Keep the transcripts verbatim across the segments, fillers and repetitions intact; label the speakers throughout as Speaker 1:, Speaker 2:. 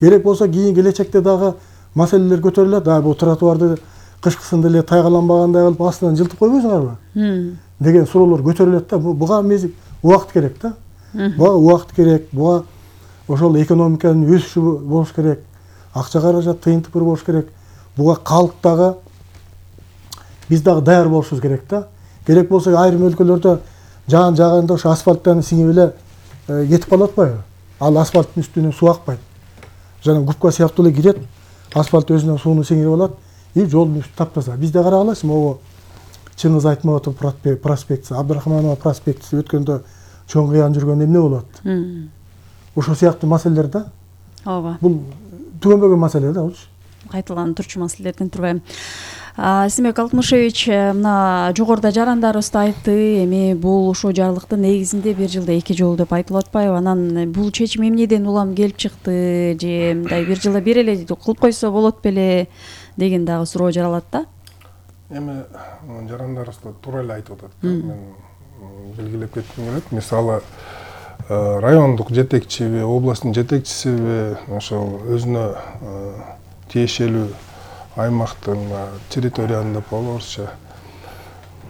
Speaker 1: Керек болсо кийин келечекте дагы маселелер көтөрүлөт. А бул тротуарды кышкысында эле тайгаланбагандай кылып астынан жылтып койбойсуңарбы деген суроолор көтөрүлөт да. Буга мезгил убакыт керек да. Буга убакыт керек. Буга ошол экономиканын өсүшү болуш керек. Акча каражат тыйынтык болуш керек. Буга калк дагы биз дагы даяр болушубуз керек да. Керек болсо айрым өлкөлөрдө жаан жааганда ошо асфальттан сиңип эле кетип калып атпайбы? Ал асфальттын үстүнө суу акпайт. Жана губка сыяктуу эле кирет, асфальт өзүнөн сууну сиңирип алат и жолдун үстү таптаза. Бизде карагалачы, могу Чыңгыз Айтматов проспектиси, Абдрахманова проспектиси өткөндө чоң кыян жүргөндө эмне болуп атты? Ошол сыяктуу маселелер да.
Speaker 2: Ооба.
Speaker 1: Бул түгөнбөгөн маселе да болчу.
Speaker 2: Кайталанып турчу маселелерден турбайм. Эсенбек Алтымышевич, мына жогоруда жарандарыбыз айтты, эми бул ошо жарлыктын негизинде бир жылда эки жолу деп айтылып атпайбы? Анан бул чечим эмнеден улам келип чыкты, же мындай бир жылда бир эле кылып койсо болот беле деген дагы суроо жаралат да.
Speaker 3: Эми жарандарыбыз да туура эле айтып атат. Мен белгилеп кетким келет. Мисалы, райондук жетекчиби, областтын жетекчисиби ошол өзүнө тиешелүү аймактын территорияны деп орусча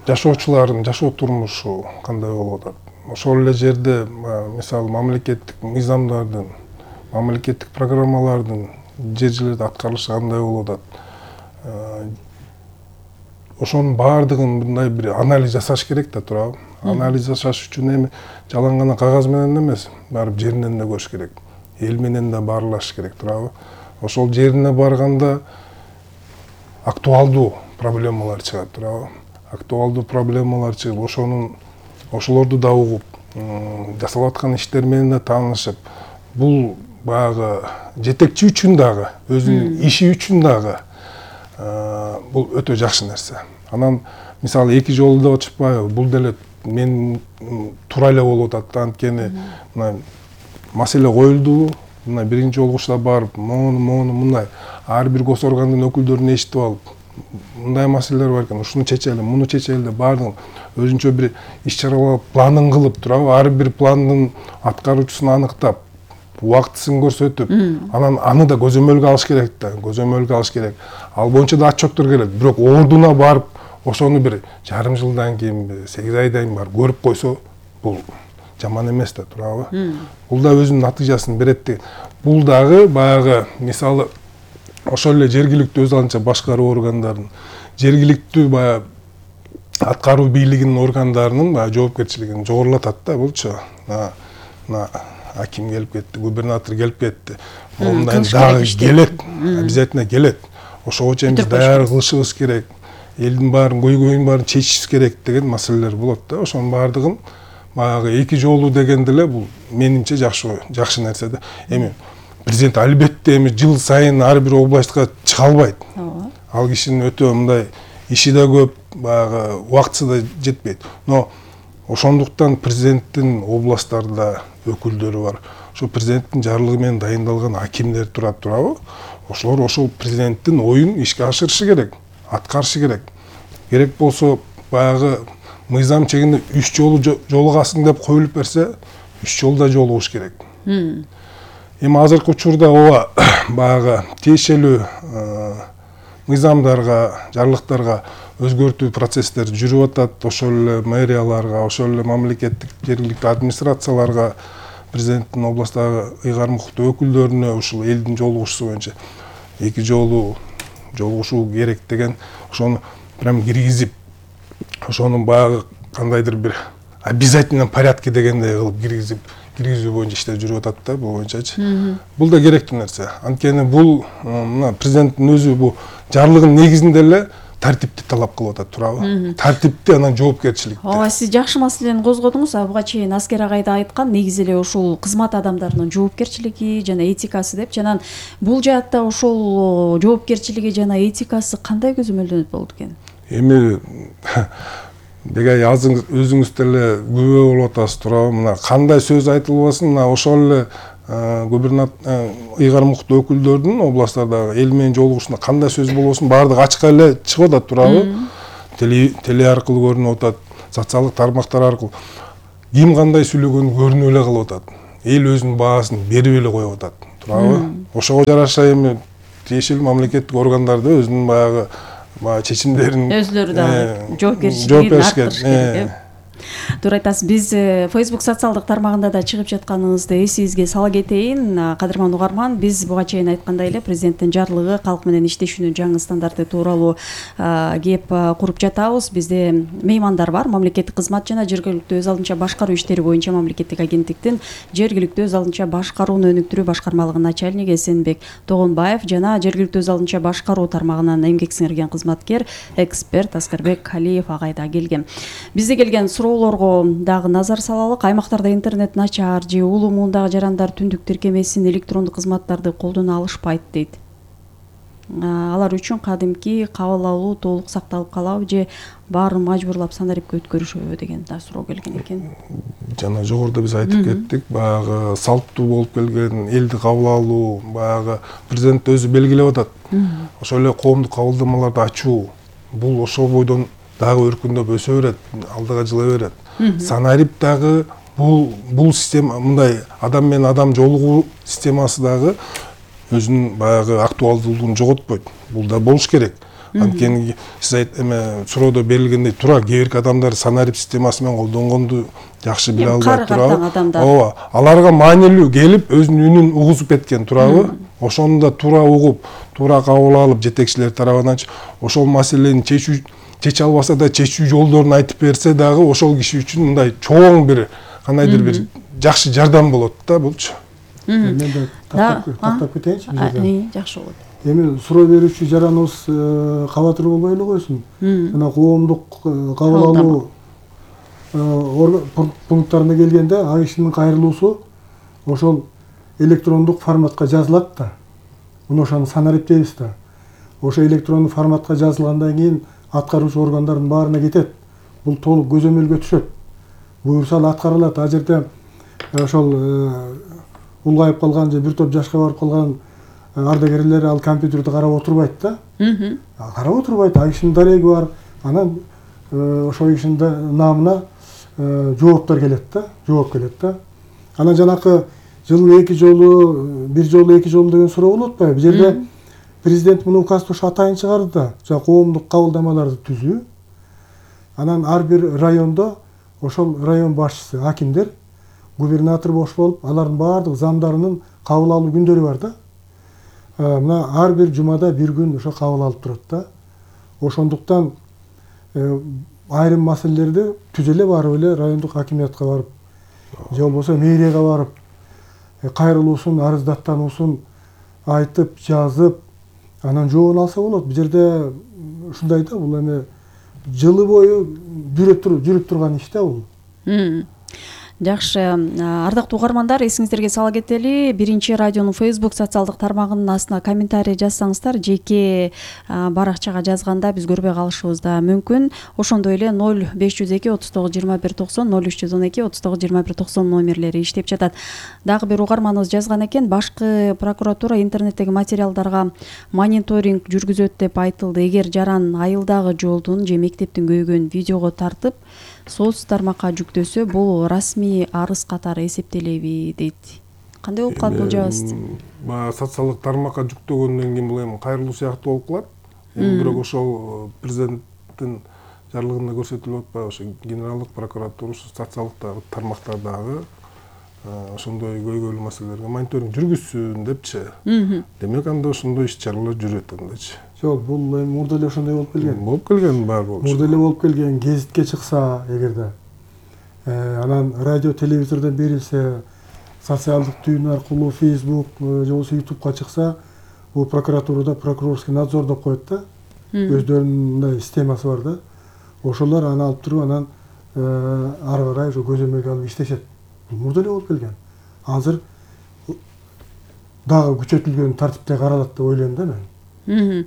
Speaker 3: жашоочулардын жашоо турмушу кандай болуп атат. Ошол эле жерде мисалы мамлекеттик мыйзамдардын, мамлекеттик программалардын жер жерлерде аткарылышы кандай болуп атат. Ошонун баардыгын мындай бир анализ жасаш керек да, туурабы? Анализ жасаш үчүн эми жалаң гана кагаз менен эмес, барып жеринен да көрүш керек. Эл менен да баарлаш керек, туурабы? Ошол жерине барганда актуалдуу проблемалар чыгат, туурабы? Актуалдуу проблемалар чыгып, ошонун ошолорду да угуп, жасалып аткан иштер менен да таанышып, бул баягы жетекчи үчүн дагы, өзүнүн иши үчүн дагы бул өтө жакшы нерсе. Анан мисалы эки жолу деп атышпайбы? Бул деле мен туура эле болуп атат. Анткени мына маселе коюлду. Мына биринчи жолгучта барып, мону мону мындай ар бир гос органдын өкүлдөрүн эшитип алып, мындай маселелер бар экен, ушуну чечели, муну чечели деп баардыгын өзүнчө бир иш-чаралар планын кылып, туурабы? Ар бир пландын аткаруучусун аныктап, убактысын көрсөтүп, анан аны да көзөмөлгө алыш керек да, көзөмөлгө алыш керек. Ал боюнча да отчеттор келет. Бирок ордуна барып, ошону бир жарым жылдан кийин, сегиз айдан кийин барып көрүп койсо, бул жаман эмес да, туурабы? Бул да өзүнүн натыйжасын берет деген. Бул дагы баягы мисалы ошол эле жергиликтүү өз алынча башкаруу органдарынын, жергиликтүү баягы аткаруу бийлигинин органдарынын баягы жоопкерчилигин жогорулатат да булчу. Мына аким келип кетти, губернатор келип кетти. Мындай дагы келет, обязательно келет. Ошого чейин биз даяр кылышыбыз керек. Элдин баарын көйгөйүн баарын чечишибиз керек деген маселелер болот да. Ошонун баардыгын баягы эки жолу дегенде эле бул менимче жакшы жакшы нерсе да. Эми президент албетте эми жыл сайын ар бир областка чыга албайт. Ал кишинин өтө мындай иши да көп, баягы убактысы да жетпейт. Но ошондуктан президенттин областтарда өкүлдөрү бар. Ошо президенттин жарлыгы менен дайындалган акимдер турат, туурабы? Ошолор ошол президенттин оюн ишке ашырышы керек, аткарышы керек. Керек болсо баягы мыйзам чегинде үч жолу жолугасың деп коюлуп берсе, үч жолда жолугуш керек. Эми азыркы учурда ооба баягы тиешелүү мыйзамдарга, жарлыктарга өзгөртүү процесстери жүрүп атат. Ошол эле мэрияларга, ошол эле мамлекеттик жергиликтүү администрацияларга, президенттин областтагы ыйгарым укуктуу өкүлдөрүнө ушул элдин жолугушусу боюнча эки жолу жолугушуу керек деген ошону прям киргизип, ошону баягы кандайдыр бир обязательном порядке дегендей кылып киргизип, киргизүү боюнча иштер жүрүп атат да, бул боюнчачы. Бул да керектүү нерсе. Анткени бул мына президенттин өзү бул жарлыгынын негизинде эле тартипти талап кылып атат, туурабы? Тартипти, анан жоопкерчиликти.
Speaker 2: Ооба, сиз жакшы маселени козгодуңуз. Буга чейин Аскер агай да айткан, негизи эле ушул кызмат адамдарынын жоопкерчилиги жана этикасы деп. Жана бул жаатта ошол жоопкерчилиги жана этикасы кандай көзөмөлдөнөт болот экен? Эми
Speaker 3: деге өзүңүз деле күбө болуп атасыз, туурабы? Мына кандай сөз айтылбасын, мына ошол эле губернатор ыйгарым укуктуу өкүлдөрдүн областтардагы эл менен жолугушууда кандай сөз болбосун баардыгы ачык эле чыгып атат, туурабы? Теле аркылуу көрүнүп атат, социалдык тармактар аркылуу. Ким кандай сүйлөгөнү көрүнүп эле калып атат. Эл өзүнүн баасын берип эле коюп атат. туурабы? Ошого жараша эми тиешелүү мамлекеттик органдарды өзүнүн баягы баягы чечимдерин
Speaker 2: өзүлөрү дагы жоопкерчилигин арттырыш керек. Туура айтасыз. Биз Facebook социалдык тармагында да чыгып жатканыбызды эсибизге сала кетейин. Кадырман угарман, биз буга чейин айткандай эле президенттин жарлыгы калк менен иштешүүнүн жаңы стандарты тууралуу кеп куруп жатабыз. Бизде меймандар бар. Мамлекеттик кызмат жана жергиликтүү өз алдынча башкаруу иштери боюнча мамлекеттик агенттиктин жергиликтүү өз алдынча башкарууну өнүктүрүү башкармалыгынын начальниги Эсенбек Тогонбаев жана жергиликтүү өз алдынча башкаруу тармагынан эмгек сиңирген кызматкер, эксперт Аскарбек Алиев агай да келген. Бизде келген суроолорго дагы назар салалык. Аймактарда интернет начар же улуу муундагы жарандар түндүк тиркемесин, электрондук кызматтарды колдоно алышпайт дейт. Алар үчүн кадимки кабыл алуу толук сакталып калабы же баарын мажбурлап санарипке өткөрүшөбү деген да суроо келген экен.
Speaker 3: Жана жогоруда биз айтып кеттик, баягы салттуу болуп келген элди кабыл алуу, баягы президент өзү белгилеп атат. Ошол эле коомдук кабылдамаларды ачуу, бул ошол бойдон дагы өркүндөп өсө берет, алдыга жыла берет. Санарип дагы бул бул система мындай адам менен адам жолугуу системасы дагы өзүнүн баягы актуалдуулугун жоготпойт. Бул да болуш керек. Анткени сиз айт эме суроодо берилгендей туура кээ бирки адамдар санарип системасы менен колдонгонду жакшы биле албайт туурабы? Ооба, аларга маанилүү келип өзүнүн үнүн угузуп кеткен туурабы? Ошону да туура угуп, туура кабыл алып жетекчилер тарабынан ошол маселени чечүү чече албаса да чечүү жолдорун айтып берсе дагы ошол киши үчүн мындай чоң бир кандайдыр бир жакшы жардам болот да булчу.
Speaker 1: Мен да тактап кетейинчи бул жерде.
Speaker 2: Жакшы болот.
Speaker 1: Эми суроо берүүчү жараныбыз кабатыр болбой эле койсун. Жана коомдук кабыл алуу пункттарына келгенде ал кишинин кайрылуусу ошол электрондук форматка жазылат да. Муну ошону санарип дейбиз да. Ошо электрондук форматка жазылгандан кийин аткаруучу органдардын баарына кетет. Бул толук көзөмөлгө түшөт. Буюрса ал аткарылат. А жерде ошол улгайып калган же бир топ жашка барып калган ардагерлер ал компьютерди карап отурбайт да. Карап отурбайт. А кишинин дареги бар. Анан ошол кишинин намына жооптор келет да, жооп келет да. Анан жанакы жылына эки жолу, бир жолу эки жолу деген суроо болуп атпайбы? Бул жерде президент муну указды ушу атайын чыгарды да, жана коомдук кабылдамаларды түзүү. Анан ар бир райондо ошол район башчысы, акимдер, губернатор бош болуп, алардын баардык замдарынын кабыл алуу күндөрү бар да. Мына ар бир жумада бир күн ошо кабыл алып турат да. Ошондуктан айрым маселелерди түз эле барып эле райондук акимиятка барып, же болбосо мэрияга барып, кайрылуусун, арыздаттануусун айтып, жазып, анан жообун алса болот. Бул жерде ушундай да, бул эми жылы бою жүрүп турган иш да бул.
Speaker 2: Жакшы, ардактуу угармандар, эсиңиздерге сала кетели, биринчи радионун Facebook социалдык тармагынын астына комментарий жазсаңыздар, жеке баракчага жазганда биз көрбөй калышыбыз да мүмкүн. Ошондой эле ноль беш жүз эки отуз тогуз жыйырма бир токсон, ноль үч жүз он эки отуз тогуз жыйырма бир токсон номерлери иштеп жатат. Дагы бир угарманыбыз жазган экен, башкы прокуратура интернеттеги материалдарга мониторинг жүргүзөт деп айтылды. Эгер жаран айылдагы жолдун же мектептин көйгөн видеого тартып соц тармакка жүктөсө, бул расмий арыз катары эсептелеби дейт. Кандай болуп калат бул жабыз?
Speaker 3: Баягы социалдык тармакка жүктөгөндөн кийин бул эми кайрылуу сыяктуу болуп калат. Бирок ошол президенттин жарлыгында көрсөтүлүп атпайбы, ошо генералдык прокуратура социалдык тармактардагы ошондой көйгөйлүү маселелерге мониторинг жүргүзсүн депчи. Демек анда ошондой иш-чаралар жүрөт андачы.
Speaker 1: Жок, бул эми мурда эле ошондой болуп келген.
Speaker 3: Болуп келген бар болчу.
Speaker 1: Мурда эле болуп келген, гезитке чыкса эгерде, анан радио, телевизордон берилсе, социалдык түйүн аркылуу Facebook же болбосо YouTubeга чыкса, бул прокуратурада прокурорский надзор деп коет да. Өздөрүнүн мындай системасы бар да. Ошолор аны алып туруп, анан ары карай ошо көзөмөлгө алып иштешет. Мурда эле болуп келген. Азыр дагы күчөтүлгөн тартипте каралат деп ойлойм да мен.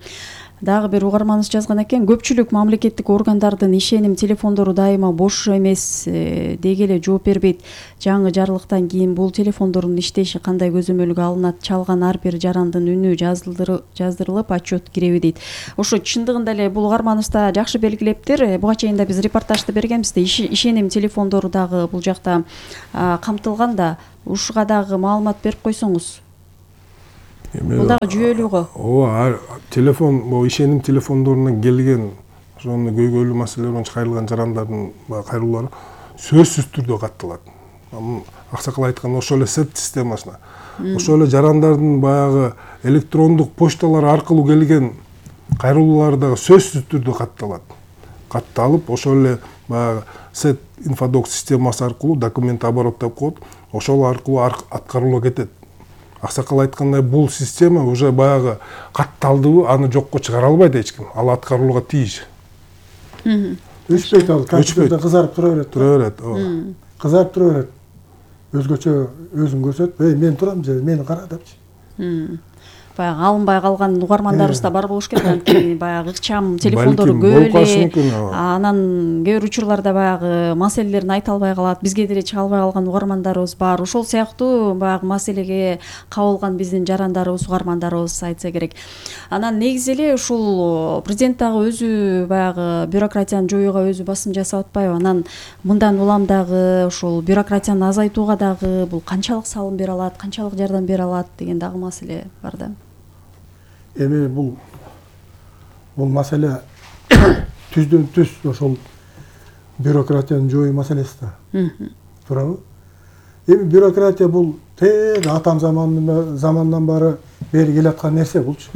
Speaker 2: Дагы бир угарманыбыз жазган экен, көпчүлүк мамлекеттик органдардын ишеним телефондору дайыма бош эмес деги эле жооп бербейт. Жаңы жарлыктан кийин бул телефондордун иштеши кандай көзөмөлгө алынат? Чалган ар бир жарандын үнү жаздырылып отчет киреби дейт. Ошо чындыгында эле бул угарманыбызда жакшы белгилептир. Буга чейин да биз репортажды бергенбиз да, ишеним телефондору дагы бул жакта камтылган да. Ушуга дагы маалымат берип койсоңуз. Бул дагы жүйөлүү го.
Speaker 3: Ооба, телефон, могу ишеним телефондорунан келген ошону көйгөйлүү маселелер боюнча кайрылган жарандардын кайрылуулары сөзсүз түрдө катталат. Аксакал айткан ошол эле сет системасына. Ошол эле жарандардын баягы электрондук почталар аркылуу келген кайрылуулар дагы сөзсүз түрдө катталат. Катталып, ошол эле баягы сет инфодок системасы аркылуу документ обороттоп коет, ошол аркылуу аткарылып кетет. Аксакал айткандай, бул система уже баягы катталдыбы, аны жокко чыгара албайт эч ким. Ал аткарылууга тийиш.
Speaker 1: Өчпөйт ал, компьютерде кызарып тура берет.
Speaker 3: Тура берет, ооба.
Speaker 1: Кызарып тура берет. Өзгөчө өзүн көрсөтүп, "Эй, мен турам же, мени кара" депчи.
Speaker 2: Баягы алынбай калган угармандарыбыз да бар болуш керек. Анткени баягы ыкчам телефондору көп эле. Анан кээ бир учурларда баягы маселелерин айта албай калат. Бизге деле чыга албай калган угармандарыбыз бар. Ошол сыяктуу баягы маселеге кабылган биздин жарандарыбыз, угармандарыбыз айтса керек. Анан негизи эле ушул президент дагы өзү баягы бюрократияны жоюуга өзү басым жасап атпайбы? Анан мындан улам дагы ушул бюрократияны азайтууга дагы бул канчалык салым бере алат, канчалык жардам бере алат деген дагы маселе бар да.
Speaker 1: Эми бул бул маселе түздөн түз ошол бюрократияны жоюу маселеси да. Туурабы? Эми бюрократия бул тең атам заманынан замандан бары бери келаткан нерсе булчу.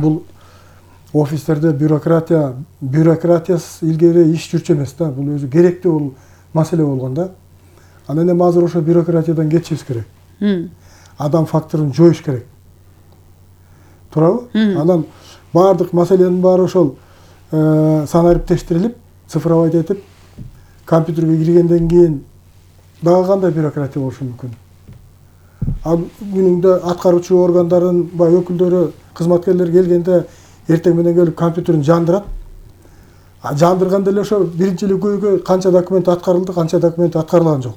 Speaker 1: Бул офистерде бюрократия бюрократиясыз илгери иш жүрчү эмес да. Бул өзү керектүү бул маселе болгон да. Анан эми азыр ошо бюрократиядан кетишибиз керек. Адам факторун жоюш керек. Туурабы? Анан баардык маселенин баары ошол санариптештирилип, цифровать этип, компьютерге киргенден кийин дагы кандай бюрократия болушу мүмкүн? Ал күнүндө аткаруучу органдардын баягы өкүлдөрү, кызматкерлер келгенде эртең менен келип компьютерин жандырат. Жандырганда эле ошо биринчи эле көйгөй канча документ аткарылды, канча документ аткарылган жок.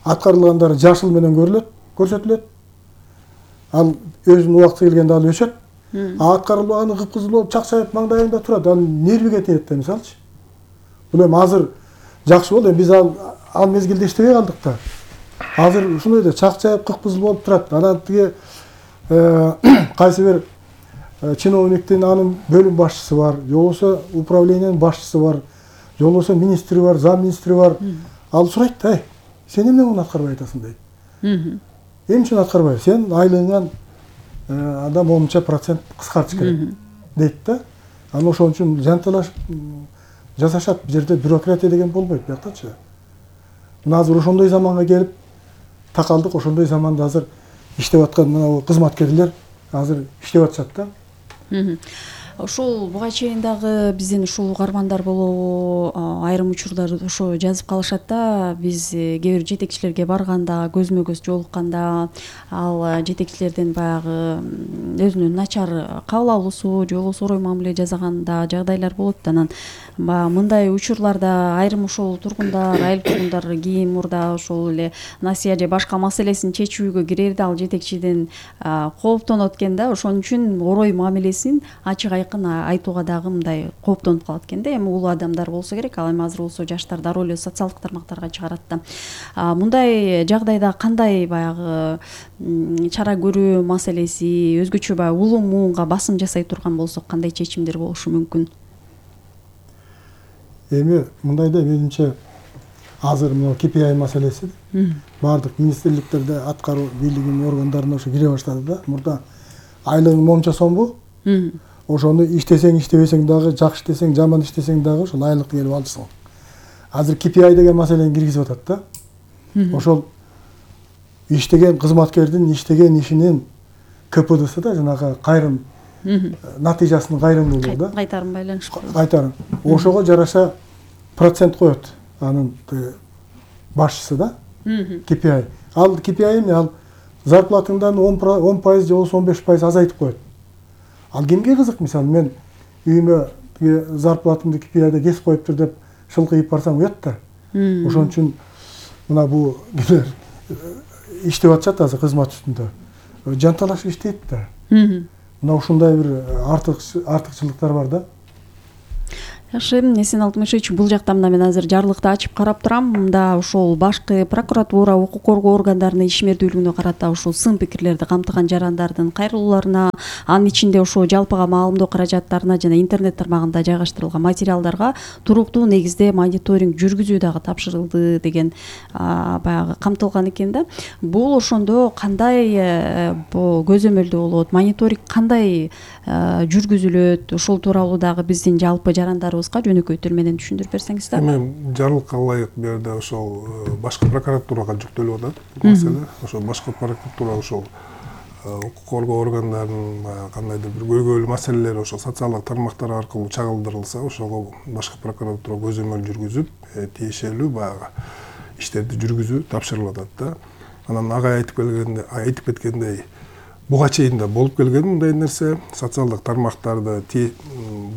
Speaker 1: Аткарылгандары жашыл менен көрүлөт, көрсөтүлөт. Ал өзүнүн убакыты келгенде ал өчөт. А аткарылбаганы кыпкызыл болуп чакчайып маңдайында турат. Ал нервиге тиет да, мисалчы. Бул эми азыр жакшы болду. Биз ал ал мезгилде иштебей калдык да. Азыр ушундой да чакчайып кыпкызыл болуп турат. Анан тиги кайсы бир чиновниктин анын бөлүм башчысы бар, же болбосо управлениянын башчысы бар, же болбосо министри бар, зам министри бар. Ал сурайт да, сен эмне муну аткарбай атасың дейт. Эмне үчүн аткарбай? Сен айлыгыңан адам онунча процент кыскартыш керек дейт да. Анан ошон үчүн жанталашып жасашат. Бул жерде бюрократия деген болбойт бияктачы. Мына азыр ошондой заманга келип такалдык, ошондой заманда азыр иштеп аткан мына кызматкерлер азыр иштеп атышат да.
Speaker 2: Ошол буга чейин дагы биздин ушул угармандар болобу айрым учурларда ошо жазып калышат да. Биз кээ бир жетекчилерге барганда, көзмө көз жолукканда ал жетекчилердин баягы өзүнүн начар кабыл алуусу же болбосо орой мамиле жасаганда жагдайлар болот. Анан баягы мындай учурларда айрым ошол тургундар, айыл тургундар кийин мурда ошол эле насыя же башка маселесин чечүүгө кирерде ал жетекчиден кооптонот экен да. Ошон үчүн орой мамилесин ачык айтууга дагы мындай кооптонуп калат экен да. Эми улуу адамдар болсо керек, ал эми азыр болсо жаштар дароо эле социалдык тармактарга чыгарат да. Мындай жагдайда кандай баягы чара көрүү маселеси, өзгөчө баягы улуу муунга басым жасай турган болсок кандай чечимдер болушу мүмкүн?
Speaker 1: Эми мындай да, менимче азыр мына ка пи ай маселеси баардык министрликтерде аткаруу бийлигинин органдарына ошо кире баштады да. Мурда айлыгың монча сомбу? Ошону иштесең, иштебесең дагы, жакшы иштесең, жаман иштесең дагы ошол айлыкты келип алчысың. Азыр ка пи ай деген маселени киргизип атат да. Ошол иштеген кызматкердин иштеген ишинин ка пэ дэси да, жанагы кайрым натыйжасынын кайрымдуулугу да.
Speaker 2: Кайтарым байланыштуу.
Speaker 1: Кайтарым. Ошого жараша процент коет анын башчысы да. ка пи ай. Ал ка пи ай эмне? Ал зарплатыңдан он пайыз же болбосо он беш пайыз азайтып коет. Ал кимге кызык? Мисалы мен үйүмө зарплатымды ка пи айда кесип коюптур деп шылкыйып барсам уят да. Ошон үчүн мына бул кимдер иштеп атышат азыр кызмат үстүндө. Жанталашып иштейт да. Мына ушундай бир артык артыкчылыктар бар да.
Speaker 2: Жакшы, Эсен Алтымышевич, бул жакта мына мен азыр жарлыкты ачып карап турам. Мында ошол башкы прокуратура, укук коргоо органдарынын ишмердүүлүгүнө карата ушул сын пикирлерди камтыган жарандардын кайрылууларына, анын ичинде ошо жалпыга маалымдоо каражаттарына жана интернет тармагында жайгаштырылган материалдарга туруктуу негизде мониторинг жүргүзүү дагы тапшырылды деген баягы камтылган экен да. Бул ошондо кандай бул көзөмөлдүү болот, мониторинг кандай жүргүзүлөт, ошол тууралуу дагы биздин жалпы жарандарыбызга жөнөкөй тил менен түшүндүрүп берсеңиз да.
Speaker 3: Эми жарлыкка ылайык бул жерде ошол башкы прокуратурага жүктөлүп атат бул маселе. Ошол башкы прокуратура ошол укук коргоо органдарынын баягы кандайдыр бир көйгөйлүү маселелери ошол социалдык тармактар аркылуу чагылдырылса, ошого башкы прокуратура көзөмөл жүргүзүп, тиешелүү баягы иштерди жүргүзүү тапшырылып атат да. Анан агай айтып келгенде, айтып кеткендей, буга чейин да болуп келген мындай нерсе. Социалдык тармактарды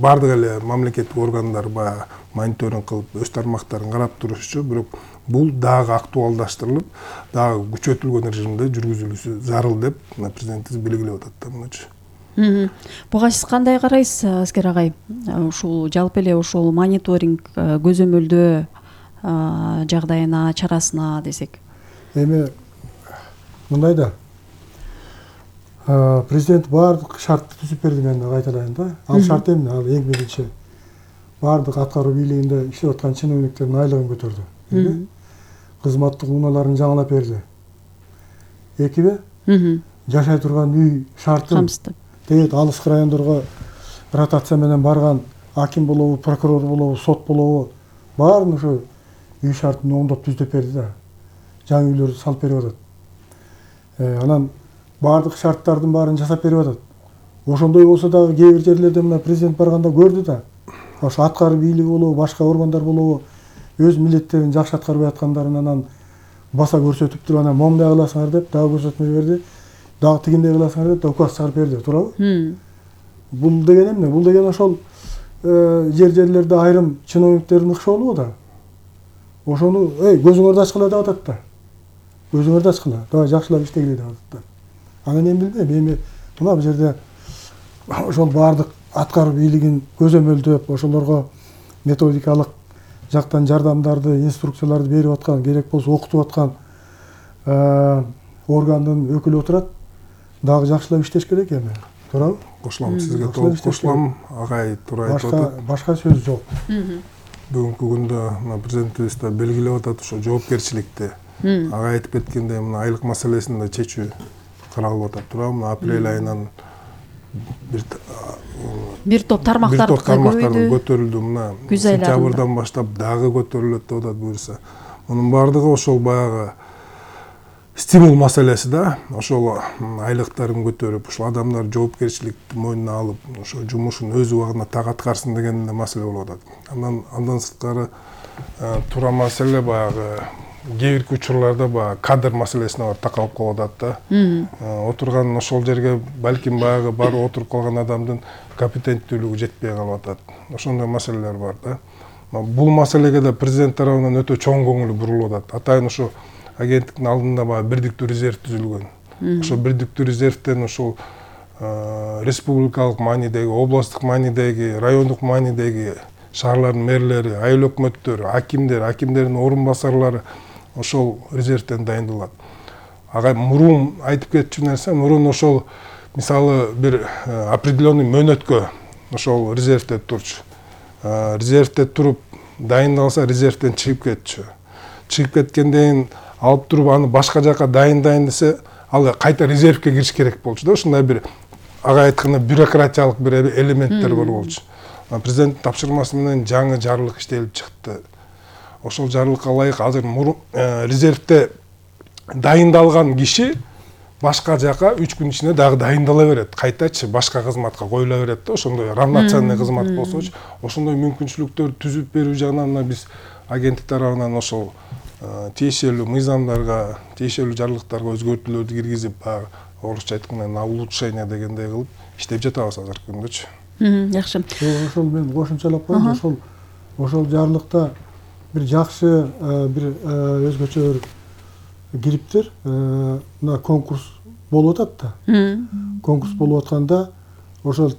Speaker 3: баардык эле мамлекеттик органдар баягы мониторинг кылып өз тармактарын карап турушчу, бирок бул дагы актуалдаштырылып, дагы күчөтүлгөн режимде жүргүзүлүшү зарыл деп президентибиз белгилеп атат да мынучу.
Speaker 2: Буга сиз кандай карайсыз, Аскер агай? Ушул жалпы эле ошол мониторинг көзөмөлдөө жагдайына, чарасына десек.
Speaker 1: Эми мындай да, президент баардык шартты түзүп берди, мен кайталайын да. Ал шарт эмне? Ал эң биринчи баардык аткаруу бийлигинде иштеп аткан чиновниктердин айлыгын көтөрдү. Кызматтык унааларын жаңылап берди. Экиби, жашай турган үй шартын дейт алыскы райондорго ротация менен барган аким болобу, прокурор болобу, сот болобу, баарын ошо үй шартын оңдоп түздөп берди да. Жаңы үйлөрдү салып берип атат. Анан баардык шарттардын баарын жасап берип атат. Ошондой болсо дагы кээ бир жерлерде мына президент барганда көрдү да. Ошо аткаруу бийлиги болобу, башка органдар болобу, өз милдеттерин жакшы аткарбай аткандарын анан баса көрсөтүп туруп, анан момундай кыласыңар деп дагы көрсөтмө берди. Дагы тигиндей кыласыңар деп указ чыгарып берди, туурабы? Бул деген эмне? Бул деген ошол жер жерлерде айрым чиновниктердин ыкшоолугу да. Ошону, эй, көзүңөрдү ачкыла деп атат да. Көзүңөрдү ачкыла, давай жакшылап иштегиле деп атат да. Анан эми билбейм, эми мына бул жерде ошол баардык аткаруу бийлигин көзөмөлдөп, ошолорго методикалык жактан жардамдарды, инструкцияларды берип аткан, керек болсо окутуп аткан органдын өкүлү отурат. Дагы жакшылап иштеш керек эми. Туурабы?
Speaker 3: Кошулам, сизге толук кошулам. Агай туура айтып атат.
Speaker 1: Башка сөз жок.
Speaker 3: Бүгүнкү күндө мына президентибиз да белгилеп атат ошо жоопкерчиликти. Агай айтып кеткендей, мына айлык маселесин да чечүү каралып атат, туурабы? Мына апрель айынан бир
Speaker 2: бир топ тармактар
Speaker 3: көтөрүлдү. Мына сентябрдан баштап дагы көтөрүлөт деп атат буюрса. Мунун баардыгы ошол баягы стимул маселеси да. Ошол айлыктарын көтөрүп, ошол адамдар жоопкерчиликти мойнуна алып, ошо жумушун өз убагында так аткарсын деген маселе болуп атат. Андан андан сырткары туура маселе баягы кээ бир учурларда баягы кадр маселесине бар такалып калып атат да. Отурган ошол жерге балким баягы барып отуруп калган адамдын компетенттүүлүгү жетпей калып атат. Ошондой маселелер бар да. Бул маселеге да президент тарабынан өтө чоң көңүл бурулуп атат. Атайын ошо агенттиктин алдында баягы бирдиктүү резерв түзүлгөн. Ошо бирдиктүү резервден ошол республикалык маанидеги, областтык маанидеги, райондук маанидеги шаарлардын мэрлери, айыл өкмөттөрү, акимдер, акимдердин орун басарлары ошол резервден дайындалат. Ага мурун айтып кетчү нерсе, мурун ошол мисалы бир определенный мөөнөткө ошол резервде турчу. Резервде туруп дайындалса, резервден чыгып кетчү. Чыгып кеткенден алып туруп аны башка жака дайындайын десе, ал кайта резервге кириш керек болчу да. Ушундай бир ага айтканда бюрократиялык бир элементтер бар болчу. Президенттин тапшырмасы менен жаңы жарлык иштелип чыкты. Ошол жарлыкка ылайык азыр резервде дайындалган киши башка жака үч күн ичинде дагы дайындала берет. Кайтачы башка кызматка коюла берет да. Ошондой равноценный кызмат болсочу, ошондой мүмкүнчүлүктөр түзүп берүү жагынан биз агенттик тарабынан ошол тиешелүү мыйзамдарга, тиешелүү жарлыктарга өзгөртүүлөрдү киргизип, баягы орусча айтканда на улучшение дегендей кылып иштеп жатабыз азыркы күндөчү.
Speaker 2: Жакшы.
Speaker 1: Ошол мен кошумчалап коеюн, ошол ошол жарлыкта бир жакшы бир өзгөчө бир кириптир. Мына конкурс болуп атат да. Конкурс болуп атканда ошол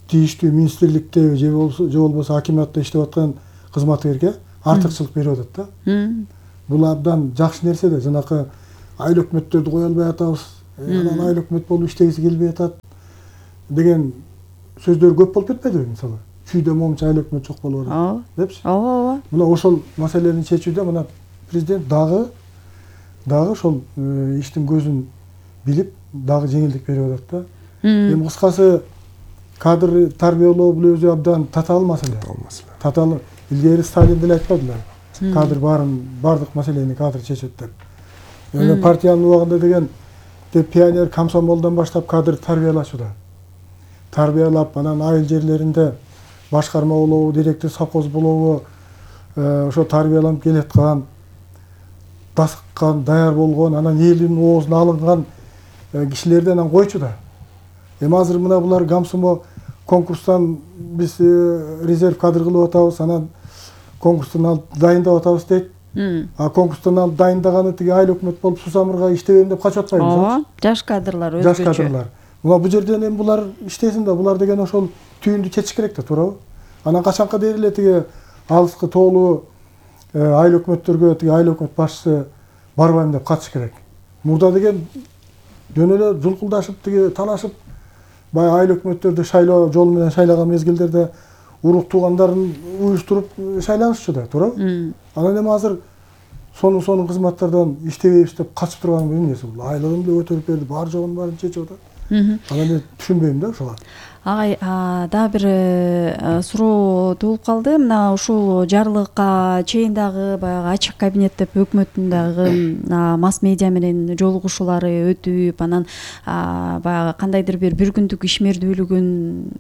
Speaker 1: тийиштүү министрликте же болбосо же болбосо акиматта иштеп аткан кызматкерге артыкчылык берип атат да. Бул абдан жакшы нерсе да, жанакы айыл өкмөттөрдү кое албай атабыз, анан айыл өкмөт болуп иштегиси келбей атат деген сөздөр көп болуп кетпедиби мисалы? Чүйдө момчу айыл өкмөт жок болуп атат депчи.
Speaker 2: Ооба, ооба.
Speaker 1: Мына ошол маселени чечүүдө мына президент дагы дагы ошол иштин көзүн билип, дагы жеңилдик берип атат да. Эми кыскасы кадр тарбиялоо бул өзү абдан татаал маселе. Татаал. Илгери Сталин деле айтпадылар. Кадр баарын бардык маселени кадр чечет деп. Эми партиянын убагында деген пионер комсомолдон баштап кадр тарбиялашууда. Тарбиялап, анан айыл жерлеринде башкарма болобу, директор совхоз болобу, ошо тарбияланып келаткан, дасыккан, даяр болгон, анан элдин оозуна алынган кишилерди анан койчу да. Эми азыр мына булар комсомо конкурстан биз резерв кадр кылып атабыз, анан конкурстан алып дайындап атабыз дейт. А конкурстан алып дайындаганы тиги айыл өкмөт болуп Сусамырга иштебейм деп качып атпайбы?
Speaker 2: Ооба, жаш кадрлар өзгөчө.
Speaker 1: Жаш кадрлар. Мына бул жерден эми булар иштесин да, булар деген ошол түйүндү чечиш керек да, туурабы? Анан качанка дейр эле тиги алыскы тоолуу айыл өкмөттөргө тиги айыл өкмөт башчысы барбайм деп катыш керек. Мурда деген жөн эле жулкулдашып тиги талашып, баягы айыл өкмөттөрдү шайлоо жолу менен шайлаган мезгилдерде урук туугандарын уюштуруп шайланышчу да, туурабы? Анан эми азыр сонун сонун кызматтардан иштебейбиз деп качып турган эмнеси бул? Айлыгын деле көтөрүп берди, бар жогун баарын чечип атат. Анан мен түшүнбөйм да ошого.
Speaker 2: Агай, дагы бир суроо туулуп калды. Мына ушул жарлыкка чейин дагы баягы ачык кабинет деп өкмөттүн дагы масс медиа менен жолугушуулары өтүп, анан баягы кандайдыр бир бир күндүк ишмердүүлүгүн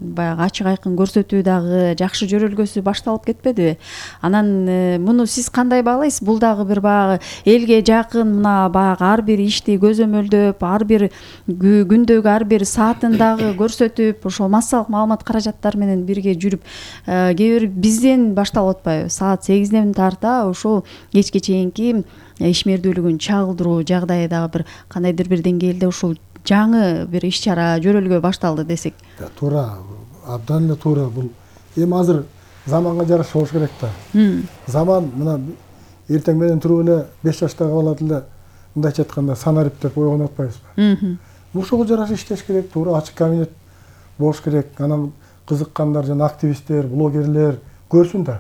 Speaker 2: баягы ачык айкын көрсөтүү дагы жакшы жөрөлгөсү башталып кетпедиби? Анан муну сиз кандай баалайсыз? Бул дагы бир баягы элге жакын, мына баягы ар бир ишти көзөмөлдөп, ар бир күндөгү ар бир саатын дагы көрсөтүп, ошол массалык маалымат каражаттары менен бирге жүрүп, кээ бир бизден башталып атпайбы? Саат сегизден тарта ошол кечке чейинки ишмердүүлүгүн чагылдыруу жагдайы дагы бир кандайдыр бир деңгээлде ушул жаңы бир иш-чара жөрөлгө башталды десек.
Speaker 1: Туура, абдан эле туура. Бул эми азыр заманга жараша болуш керек да. Заман мына эртең менен туруп эле беш жаштагы бала деле мындайча айтканда санарип деп ойгонуп атпайбызбы? Ушуга жараша иштеш керек, туура ачык кабинет болуш керек. Анан кызыккандар жана активисттер, блогерлер көрсүн да.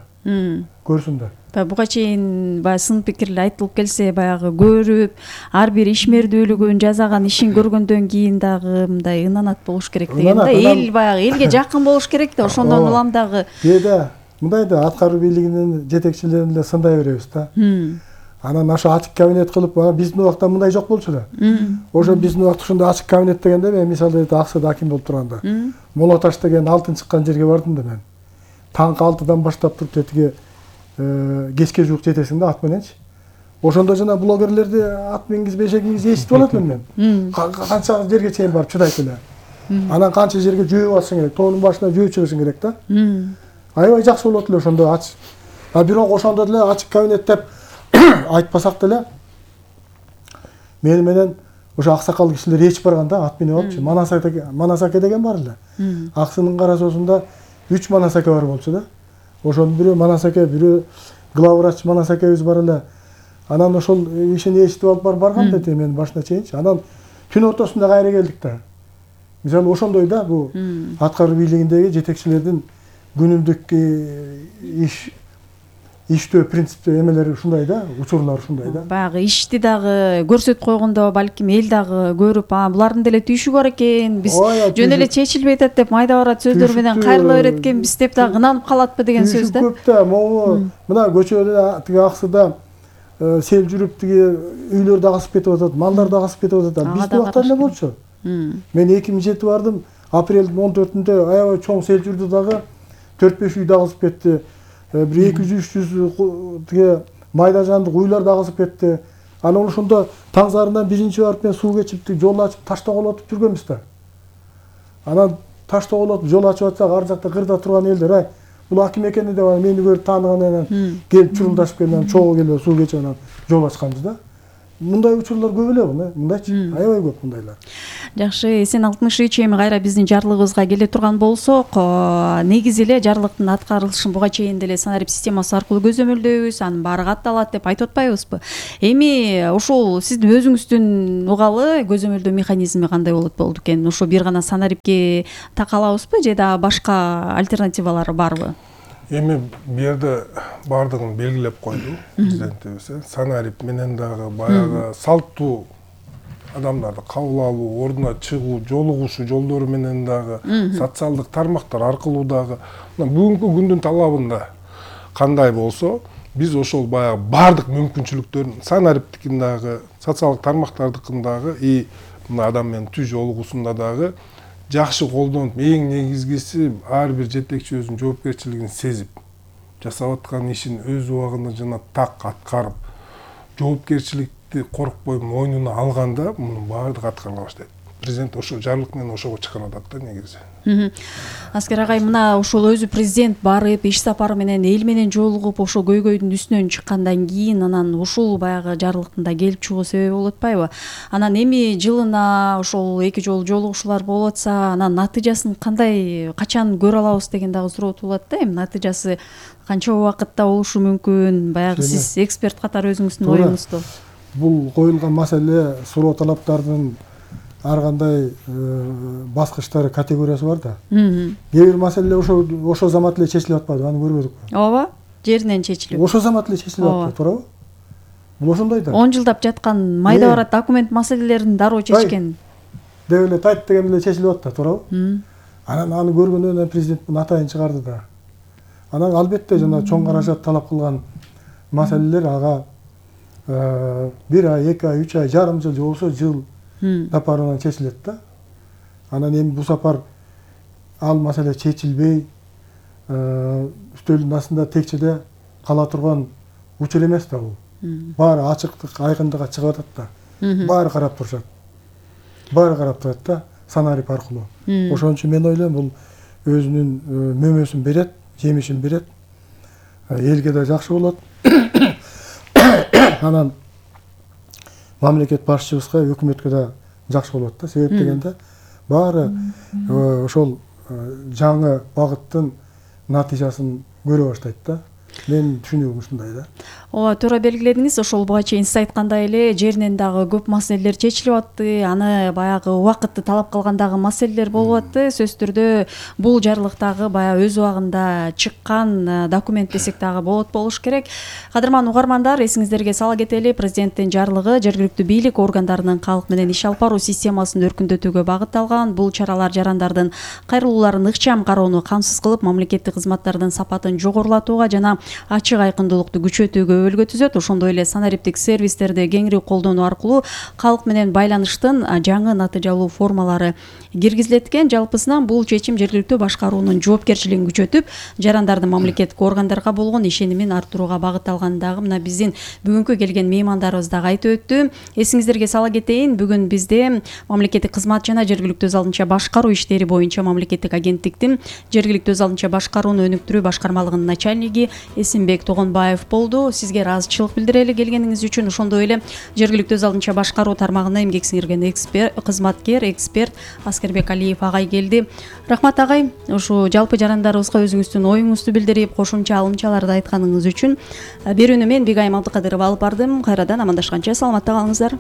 Speaker 1: Көрсүн да.
Speaker 2: Буга чейин баягы сын пикирлер айтылып келсе, баягы көрүп, ар бир ишмердүүлүгүн, жасаган ишин көргөндөн кийин дагы мындай ынанат болуш керек деген да. Эл баягы элге жакын болуш керек да, ошондон улам дагы.
Speaker 1: Кээде мындай да, аткаруу бийлигинин жетекчилерин эле сындай беребиз да. Анан ошо ачык кабинет кылып, биздин убакта мындай жок болчу да. Ошо биздин убакта ошондой ачык кабинет дегенде мен мисалда Аксыда аким болуп турганда, Молоташ деген алтын чыккан жерге бардым да мен. Таңкы алтыдан баштап туруп тетиги кечке жуук жетесиң да ат мененчи. Ошондо жана блогерлерди ат мингизбей эшегиңизди эситип алат элем мен. Канча жерге чейин барып чыдайт эле. Анан канча жерге жөөп алышың керек, тоонун башына жөөп чыгышың керек да. Аябай жакшы болот эле ошондо ач. А бирок ошондо деле ачык кабинет деп айтпасак деле мени менен ошо аксакал кишилер ээчип барган да, ат минип алыпчы. Манасаке, Манасаке деген бар эле. Аксынын кара соосунда үч Манасаке бар болчу да. Ошонун бирөө Манасаке, бирөө главврач Манасакебиз бар эле. Анан ошол ишин ээчитип алып барып барган да мен башына чейинчи. Анан түн ортосунда кайра келдик да. Мисалы ошондой да, бул аткаруу бийлигиндеги жетекчилердин күнүмдүк иш иштөө принциптүү эмелери ушундай да, учурлар ушундай да.
Speaker 2: Баягы ишти дагы көрсөтүп койгондо балким эл дагы көрүп, а булардын деле түйшүгү бар экен, биз жөн эле чечилбей атат деп майда барат сөздөр менен кайрыла берет экенбиз деп дагы ынанып калатпы деген сөз да.
Speaker 1: Көп да, могу мына көчөдө тиги Аксыда сел жүрүп тиги үйлөр да агысып кетип атат, малдар да агысып кетип атат. Биздин убакта эле болчу. Мен эки миң жети бардым, апрелдин он төртүндө аябай чоң сел жүрдү дагы, төрт беш үй да агысып кетти. Бир эки жүз үч жүз тиги майда жандык уйлар да агысып кетти. Анан ошондо таң зарынан биринчи барып мен суу кечип, жол ачып, таш тоголотуп жүргөнбүз да. Анан таш тоголотуп жол ачып атсак, ар жакта кырда турган элдер, ай, бул аким экени деп мени көрүп тааныгандан келип чурулдашып келип, чогуу келип суу кечип анан жол ачканбыз да. Мындай учурлар көп эле, мындайчы, аябай көп мындайлар.
Speaker 2: Жакшы, Эсен алтымыш үч эми кайра биздин жарлыгыбызга келе турган болсок, негизи эле жарлыктын аткарылышын буга чейин деле санарип системасы аркылуу көзөмөлдөйбүз, анын баары катталат деп айтып атпайбызбы? Эми ушул сиздин өзүңүздүн угалы көзөмөлдөө механизми кандай болот болду экен? Ошо бир гана санарипке такалабызбы же дагы башка альтернативалары барбы?
Speaker 3: Эми бу жерде баардыгын белгилеп койду президентибиз. Санарип менен дагы баягы салттуу адамдарды кабыл алуу, ордуна чыгуу, жолугушуу жолдору менен дагы, социалдык тармактар аркылуу дагы бүгүнкү күндүн талабында кандай болсо, биз ошол баягы баардык мүмкүнчүлүктөрүн санариптикин дагы, социалдык тармактардыкын дагы и мына адам менен түз жолугуусунда дагы жакшы колдонуп, эң негизгиси ар бир жетекчи өзүнүн жоопкерчилигин сезип, жасап аткан ишин өз убагында жана так аткарып, жоопкерчилик коркпой мойнуна алганда мунун баардыгы аткарыла баштайт. Президент ошо жарлык менен ошого чыгарып атат да негизи.
Speaker 2: Аскер агай, мына ошол өзү президент барып иш сапары менен эл менен жолугуп, ошо көйгөйдүн үстүнөн чыккандан кийин анан ушул баягы жарлыктын да келип чыгуу себеби болуп атпайбы? Анан эми жылына ошол эки жолу жолугушуулар болуп атса, анан натыйжасын кандай, качан көрө алабыз деген дагы суроо туулат да. Эми натыйжасы канча убакытта болушу мүмкүн? Баягы сиз эксперт катары өзүңүздүн оюңузду.
Speaker 1: Бул коюлган маселе, суроо талаптардын ар кандай баскычтары, категориясы бар да. Кээ бир маселелер ошо ошо замат эле чечилип атпайбы, аны көрбөдүкпү?
Speaker 2: Ооба, жеринен чечилип.
Speaker 1: Ошо замат эле чечилип атпайбы, туурабы? Бул ошондой да.
Speaker 2: он жылдап жаткан майда барат документ маселелерин дароо чечкен.
Speaker 1: Деп эле тайт деген эле чечилип атты, туурабы? Анан аны көргөндөн кийин президент муну атайын чыгарды да. Анан албетте жана чоң каражат талап кылган маселелер ага бир ай, эки ай, үч ай, жарым жыл же болбосо жыл сапарынан чечилет да. Анан эми бул сапар ал маселе чечилбей, үстөлдүн астында текчеде кала турган учур эмес да бул. Баары ачыктык, айкындыкка чыгып атат да. Баары карап турушат. Баары карап турат да, санарип аркылуу. Ошон үчүн мен ойлойм, бул өзүнүн мөмөсүн берет, жемишин берет. Элге да жакшы болот. Анан мамлекет башчыбызга, өкмөткө да жакшы болот да. Себеп дегенде баары ошол жаңы багыттын натыйжасын көрө баштайт да. Мен түшүнүгүм ушундай да.
Speaker 2: Ооба, туура белгиледиңиз. Ошол буга чейин сиз айткандай эле жеринен дагы көп маселелер чечилип атты. Аны баягы убакытты талап кылгандагы маселелер болуп атты. Сөзсүз түрдө бул жарлыктагы баягы өз убагында чыккан документ десек дагы болот болуш керек. Кадырман угармандар, эсиңиздерге сала кетели, президенттин жарлыгы жергиликтүү бийлик органдарынын калк менен иш алып баруу системасын өркүндөтүүгө багытталган. Бул чаралар жарандардын кайрылууларын ыкчам кароону камсыз кылып, мамлекеттик кызматтардын сапатын жогорулатууга жана ачык айкындуулукту күчөтүүгө өбөлгө түзөт. Ошондой эле санариптик сервистерди кеңири колдонуу аркылуу калк менен байланыштын жаңы натыйжалуу формалары киргизилет экен. Жалпысынан бул чечим жергиликтүү башкаруунун жоопкерчилигин күчөтүп, жарандардын мамлекеттик органдарга болгон ишенимин арттырууга багытталган. Дагы мына биздин бүгүнкү келген меймандарыбыз дагы айтып өттү. Эсиңиздерге сала кетейин, бүгүн бизде мамлекеттик кызмат жана жергиликтүү өз алдынча башкаруу иштери боюнча мамлекеттик агенттиктин жергиликтүү өз алдынча башкарууну өнүктүрүү башкармалыгынын начальниги Эсенбек Тогонбаев болду. Сизге ыраазычылык билдирели келгениңиз үчүн. Ошондой эле жергиликтүү өз алдынча башкаруу тармагына эмгек сиңирген эксперт, кызматкер, эксперт Аскербек Алиев агай келди. Рахмат агай, ушу жалпы жарандарыбызга өзүңүздүн оюңузду билдирип, кошумча алымчаларды айтканыңыз үчүн. Берүүнү мен Бигайым Абдыкадырова алып бардым. Кайрадан амандашканча саламатта калыңыздар.